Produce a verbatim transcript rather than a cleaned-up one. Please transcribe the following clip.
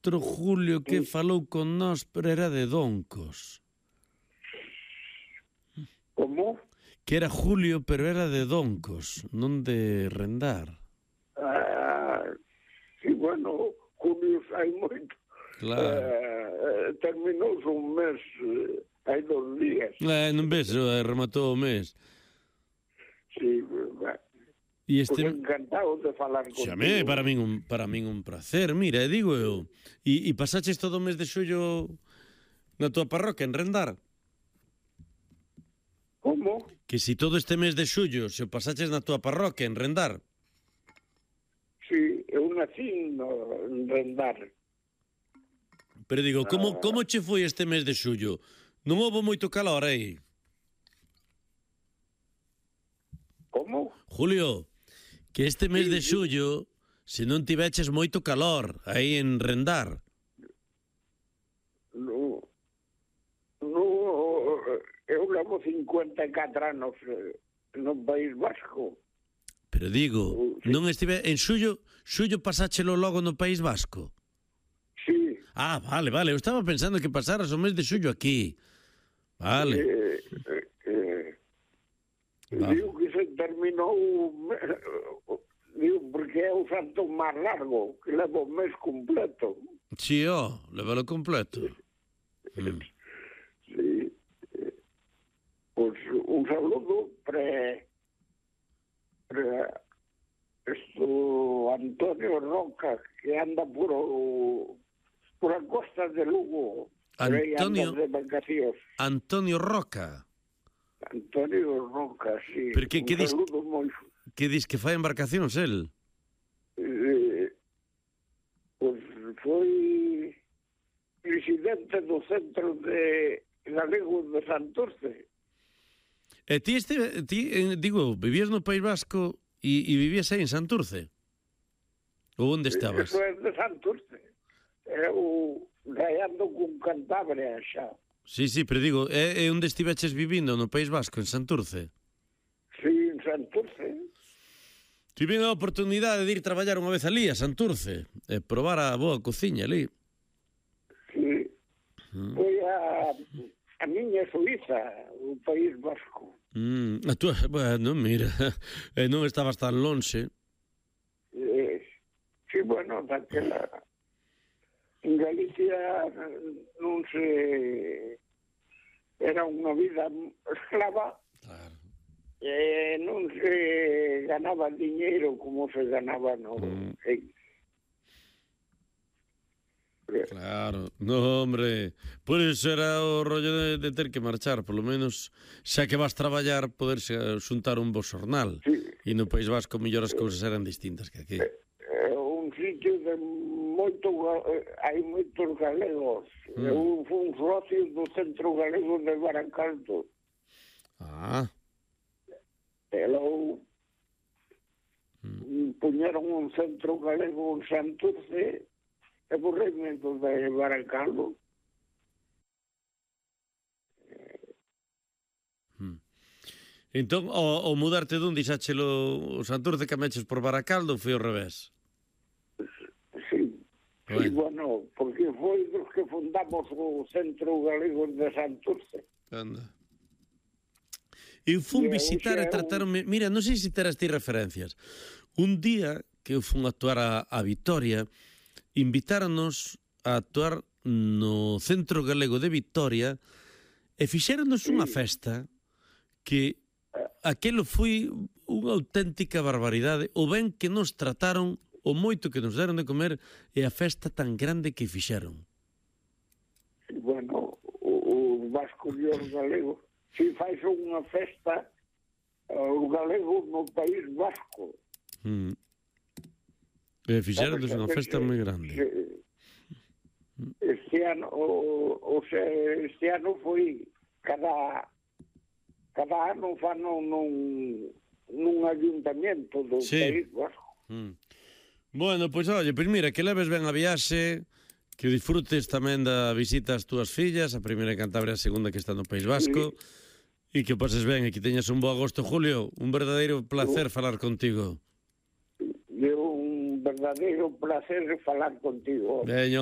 outro Julio que falou con nós, pero era de Doncos. Como? Que era Julio, pero era de Doncos, non de Rendar. Ah, sí, bueno, Julio hai moito. Claro. Eh, terminou un mes, eh, hai dos días. Eh, non ves, eh, rematou o mes. Sí, bah, E este... pues encantado de falar contigo. Xame, para min un, para min un placer. Mira, digo eu, e, e pasaches todo o mes de xullo na tua parroquia, en Rendar? Como? Que si todo este mes de xullo se o pasaches na tua parroquia, en Rendar? Sí, eu nací no, en Rendar. Pero digo, como, como che foi este mes de xullo? Non houve moito calor aí? Como? Julio, que este mes de xullo, se non tiveches moito calor aí en Rendar. No, no, eu levo cincuenta e catro anos no País Vasco. Pero digo, Sí. non estive en xullo, xullo pasáchelo logo no País Vasco? Sí. Ah, vale, vale, eu estaba pensando que pasaras o mes de xullo aquí. Vale. Eh, eh, eh, Vale. digo que se terminou, digo, porque é o santo máis largo, que leva o mes completo. Sí, ó, levalo completo. Mm. Sí. Eh, Pues un saludo para, para esto Antonio Roca, que anda por, o, por a costa de Lugo. Por aí Antonio- anda de vacacións. Antonio Roca, Antonio Roca, sí. Pero que- un que dis- saludo moi... que dis que fai embarcacións el? Eh, pues foi presidente do Centro de Galego de Santurce. E ti, este, ti eh, digo, vivías no País Vasco e, e vivías aí en Santurce? Ou onde estabas? Eso é de Santurce. Eu rayando con Cantabria xa. Sí, sí, pero digo, é, é onde estiveches vivindo no País Vasco, en Santurce? Sí, en Santurce. Tive a oportunidade de ir traballar unha vez ali a Santurce e probar a boa cociña ali. Sí. Foi a, a miña Suiza, o País Vasco. Mm, a túa, bueno, mira, e non estabas tan lonxe. Eh, sí, bueno, daquela... En Galicia non se... Era unha vida esclava. Claro. Eh, non se ganaba diñeiro como se ganaba no... Mm. En... Claro, no, hombre, por iso era o rollo de, de ter que marchar, polo menos, xa que vas traballar, poderse xuntar un bo xornal. Sí. E no País Vasco, mellor as cousas eran distintas que aquí. É un sitio de moito... Hai moitos galegos. Mm. Eu fui un socio do Centro Galego de Baracaldo. Ah, E logo mm. puñeron un centro galego en Santurce e borreime do de Baracaldo. entón, o, o mudarte dun, dixáchelo o Santurce, cameches por Baracaldo, foi ao revés? Sí. Bueno. Sí, bueno, porque foi dos que fundamos o Centro Galego de Santurce. Anda. Eu fun E visitar hoxe e é un- tratarme... Mira, non sei se terás ti referencias. Un día que eu fun a actuar a, a Vitoria, invitáronos a actuar no Centro Galego de Vitoria e fixéronos unha festa que aquelo foi unha auténtica barbaridade. O ben que nos trataron, o moito que nos deron de comer e a festa tan grande que fixeron. E, bueno, o, o Vasco e os galegos, si faz unha festa os galegos no País Vasco. Mm. E fixeronos unha festa moi grande. Este ano, o, o sea, este ano foi cada cada ano fan nun, nun ayuntamiento do Sí. País Vasco. Mm. Bueno, pois pues, oye, pois pues mira, que leves ben a viaxe, que disfrutes tamén da visita ás túas fillas, a primeira en Cantabria, a segunda que está no País Vasco, e que pases ben e que teñas un bo agosto, Julio. Un verdadeiro placer falar contigo. É un verdadeiro placer falar contigo. Veño,